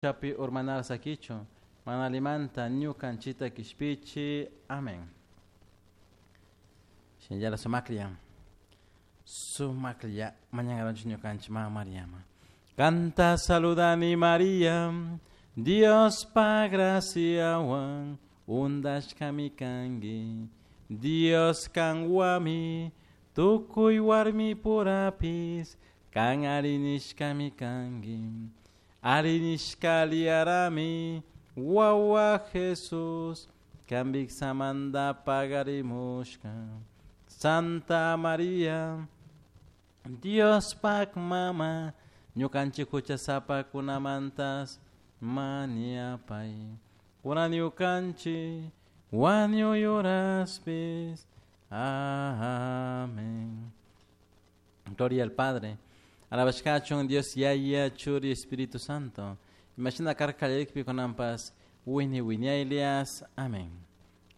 Chapi urmanara sakichun, mana alimanta ñukanchita kishpichi. Amén. Shinallara sumaklla, sumaklla mañangaranchik ñukanchik mama Mariama. Kanta saludani Maria, Diospa graciawan undashkami kanki. Dios kanwami tukuy warmi purapis kan arinishkami kanki. Arinishkaliarami wawa Jesus kambiksamanta pagarimushka. Santa Maria, Diospak mama, ñukanchik huchasapakunamantas mañapay. Kunan ñukanchik wañuy horaspis. Amén. Gloria al Padre. Alabashkachun Dios Yaya Churi Espíritu Santo. Imashina karka kallarikpi kunanpas wini wiñaylias. Amén.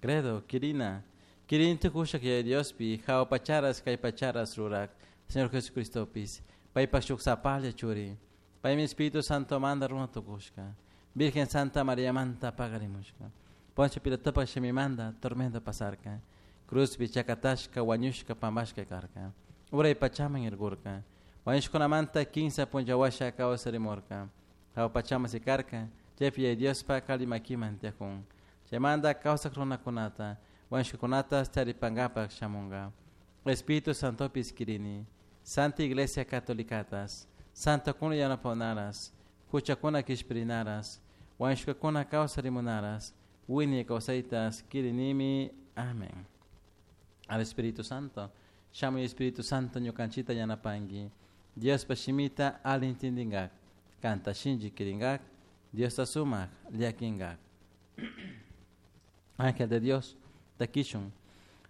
Credo, Kirina. Kirin tukushak Yaya Diospi, jao pacharas kay pacharas rurak. Señor Jesucristopis. Paypak shuk sapalla churi. Paymi Espíritu Santo manda runa tukushka. Virgen Santa María manta pagarimushka. Poncio Pilatopak shimimanta tormenta pasarka. Cruzpi chakatashka wañushka pambashka karka. Uray pachaman irgurka. Wañushkunamanta kinsa punlla washa kawsarimurka. Hawa pachaman sikarka. Chaypi Yaya Diospa kali makiman tiyakun. Chaymanta kawsak runakunata wañushkakunata charipankapak shamunka. Espíritu Santopis kirini. Santa Iglesia Catolicatas. Santokuna yanapanaras. Huchakuna kishpirinaras. Wañushkakuna kawsarimunaras. Wiñay kawsaytas kirinimi. Amén. Al Espíritu Santo. Shamuy Espíritu Santo ñukanchita yanapanki. Diospa shimita alli intindingak. Kanta shinchi kiringak. Diosta sumak llakinkak. Ángel de Dios, takishun.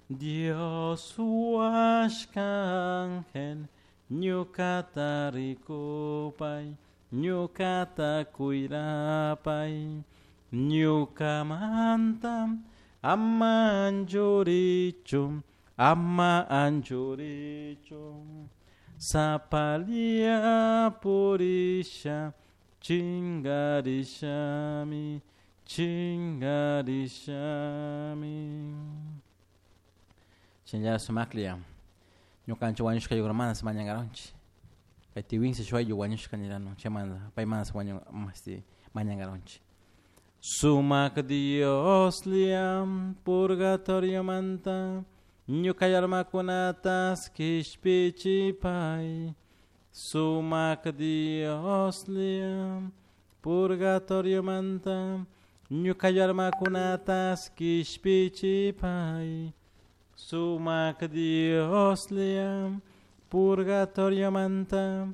Dios huashka ángel, ñukata rikupay, ñukata cuirapay, ñukamanta ama anchurichu, ama anchurichu. Sapalia purisha, chingarishami, chingarishami. Shinallara sumaklla, ñukanchik wañushka yugurmanas mañankaronchik. Kay tiwinsi shuk wañushka nirano, chaymanta paymanas wañu masti mañankaronchik. Sumak Dioslla purgatoriomanta ñuka almakunatas kishpichipay. Sumak Dioslla purgatoriomanta ñuka almakunatas kishpichipay. Sumak Dioslla purgatoriomanta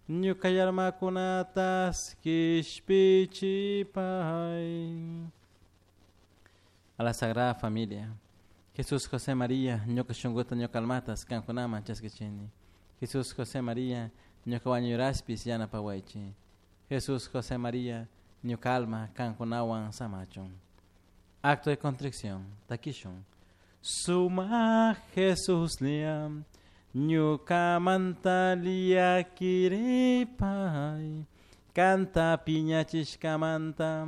ñuka almakunatas kishpichipay. A la Sagrada Familia. Jesús, José, María, ñuka shunkuta ñuka almatas kankunaman chaskichini. Jesús, José, María, ñuka wañuraspis yanapawaychik. Jesús, José, María, ñuka alma kankunawan samachun. Acto de contrición, takishun. Suma Jesús liam, ñukamanta llakiripay, kanta piñachishkamanta.